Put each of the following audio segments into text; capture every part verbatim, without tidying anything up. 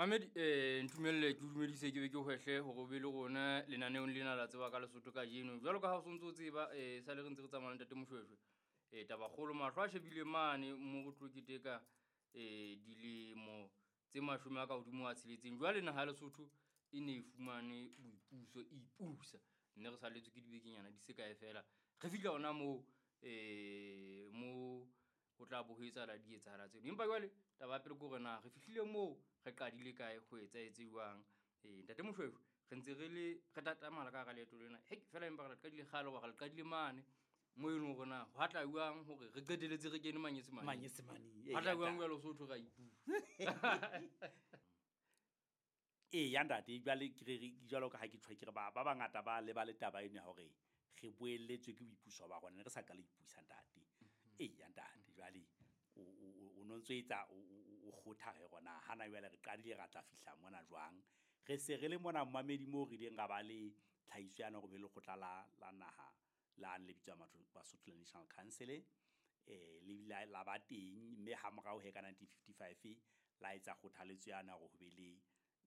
Mamedi eh ntumelle ke dumedise ke be ke hwehle hore o be le rona lenaneong lena la tseba ka Lesotho kajeno. Jwalo ka ha o sontso o tseba eh sale re ntse re tsamaya le ntate Moshweshwe. Eh tabakgolo mahlo a shebile mane mo re tlo keteka eh dilemo tse mashome a ka hodimo a tsheletseng. Jwale naha ya Lesotho e ne e fumane boipuso, e ipusa. Mme re salletswe ke dibekenyana di se kae feela. Re fihla hona moo eh mo ho tla bo ho etsahala di etsahala tseno. Empa jwale taba ya pele ke hore na re fihlile moo re qadile kae, ho etsahetse jwang. Eh ntate Moshweshwe re ntse re le re tatamala ka hara leeto lena. Hei feela empa re le qadile kgale hoba re le qadile mane moo e leng hore na hwa tla jwang hore re qetelletse re kene Manyesemaneng. Manyesemaneng, Hwa tla jwang jwale ho so thwe ra ipusa. Ee ya ntate, jwale ke re jwalo ka ha ke tjho ke re ba ba bangata ba lebale taba eno ya hore re boelletswe ke boipuso ba rona, ne re sa ka la ipusa ntate. Ee ya ntate, jwale o o o no ntso etsa o kgotha re rona hana jwale re qadile ra tla fihla mona jwang. Re se re le mona mmamedi moo re ileng ra ba le tlhahiso yana hore be lekgotla la la naha la le bitswang Basotho National Council eh le bile la ba teng, mme ha morao he ka nineteen fifty-five la etsa kgothaletso yana hore ho be le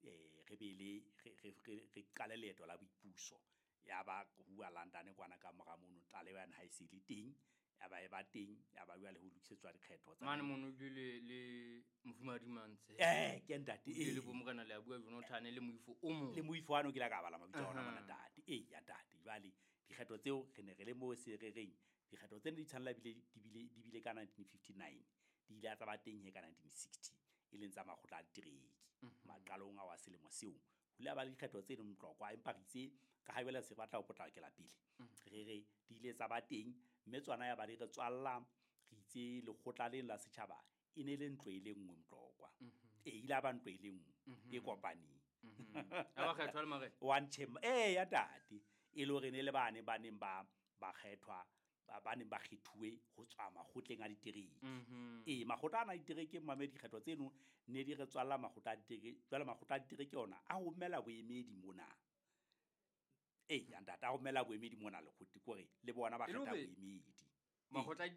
eh re be le re re re qale leeto la boipuso. Ya ba huwa London kwana ka mora mono tlaleho yane ha e se le teng, ya ba e ba teng, ya ba jwale ho lokisetswa dikgetho tsa Mane mono ebile le le Mofumahadi Mantshe. Eh ke ntate, Ebile le ee. bo Morena le a bua Jonathan le moifo o mong. Le moifo wa no ke la ka bala mabitso a ona mona Aha. ntate. Ee ya ntate, jwale dikgetho tseo re ne re le moo se re reng dikgetho tsena di tshwanela bile di bile di bile ka nineteen fifty-nine, di ile tsa ba teng he ka nineteen sixty, e leng tsa makgotla a ditereke. Maqalong ao a selemo seo ho ile ha ba le dikgetho tse leng Tlokwa, empa re itse ka ha jwale se batla ho potlakela pele, re re di ile tsa ba teng, mme tsona ya ba di re tswalla. Re itse lekgotla leno la setjhaba e ne le ntlo e le nngwe Motlokwa. E ile ya ba ntlo e le nngwe e kopaneng. Ha ba kgethwa le marena. One chamber. Eh ya ntate, e le hore ne le bane ba neng ba ba kgethwa, ba ba neng ba kgethuwe ho tswa makgotleng a ditereke. Ee, makgotla ana a ditereke mmamedi, dikgetho tseno ne di re tswalla makgotla a ditereke. Jwale makgotla a ditereke ona a romela boemedi mona. Ee ya ntate, a romela boemedi mona lekgotleng, ke hore le bona ba E le kgetha hore boemedi. Makgotla a